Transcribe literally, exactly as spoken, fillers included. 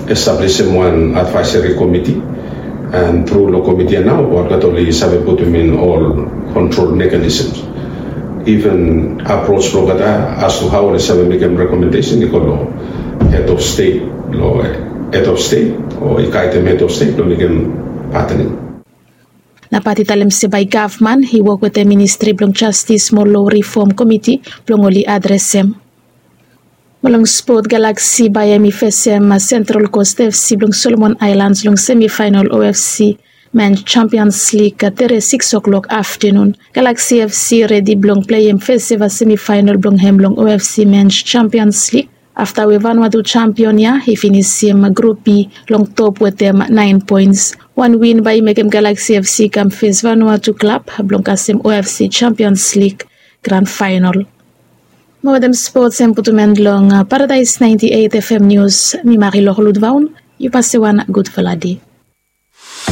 Establisim wan advaeseri komiti, and tru long komiti ya nao olgeta oli save putum in ol kontrol mekanisms. Even apros blong olgeta as to hao oli save mekim rekomendesen i go long hed of stet, long hed of stet o i gaidem hed of stet blong mekim patening. Na pat i talem se bae gavman i wok wetem ministri blong jastis mo lo rifom komiti blong oli adresem. Mo long spot, Galaksi bae hem i fesem Sentral Kos FC blong Solomon Aelans long semifaenal O F C Mens Champions Lig tere siks oklok aftenun. Galaksi FC redi blong pleim feseva semifaenal blong hem long O F C Mens Champions Lig afta we Vanuatu jampion ya i finisim Grup B long top wetem naen poens. Wan win bae i mekem Galaksi FC i kam fes Vanuatu klab blong kasem O F C Champions Lig gran faenal. Mo wetem spots hem putum en long Paradaes naenti eit F M nius, mi Mari Loklud Vaun. Yu pase wan gudfala dei.